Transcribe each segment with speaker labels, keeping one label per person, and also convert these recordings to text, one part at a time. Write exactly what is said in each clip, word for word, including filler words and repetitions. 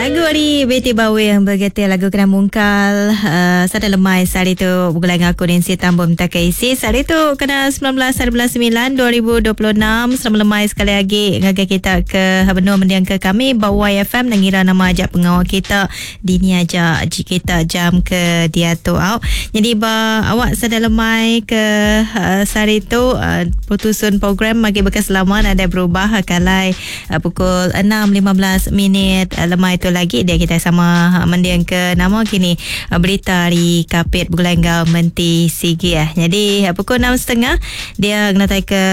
Speaker 1: Lagu ari Betty Bawing bergetir lagu kena mungkal uh, sada lemai sehari tu begulai dengan aku Nancy Tambun minta ke isi sehari tu kena sembilan belas hari bulan sembilan dua ribu dua puluh enam. Selamat lemai sekali lagi ngagai kita ke benua mendiang ke kami ba Y F M dan ngira nama ajak pengawal kita dini aja kita jam ke dia tu au. Jadi ba awak sada lemai ke uh, sehari tu uh, putusun program bagi bekas lama ada berubah kalai uh, pukul enam lima belas minit uh, lemai tu lagi dia kita sama mendiang ke nama kini berita hari Kapit begulai enggau Menti Sigi eh. Jadi pukul enam setengah dia kenatai ke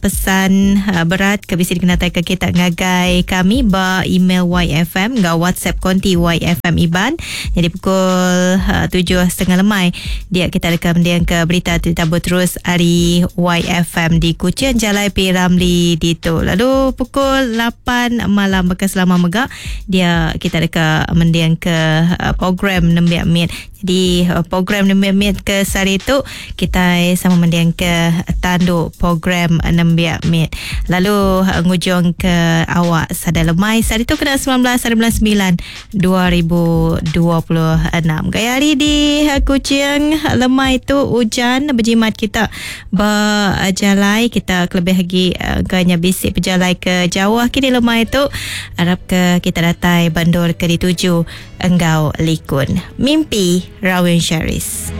Speaker 1: pesan berat ke bisi kenatai ke kita ngagai kami ba email Y F M enggau WhatsApp konti Y F M Iban. Jadi pukul tujuh setengah lemai dia kita rekam mendiang ke berita tetap terus hari Y F M di Kuching Jalai P Ramli ditu. Lalu pukul lapan malam bekas lama megak dia kita dekat mendiang ke uh, program Nembiak Mit. Jadi uh, program Nembiak Mit ke sehari itu kita sama mendiang ke tanduk program Nembiak Mit. Lalu uh, ngujung ke awak sada lemai sehari itu kena sembilan belas hari bulan sembilan dua ribu dua puluh enam. Gaya hari di uh, Kuching lemai itu hujan berjimat kita berjalai kita kelebih lagi uh, ganya bisik berjalai ke jauh kini lemai itu harap ke kita datai bandar ke dituju enggau likun. Mimpi Rawin Sherris.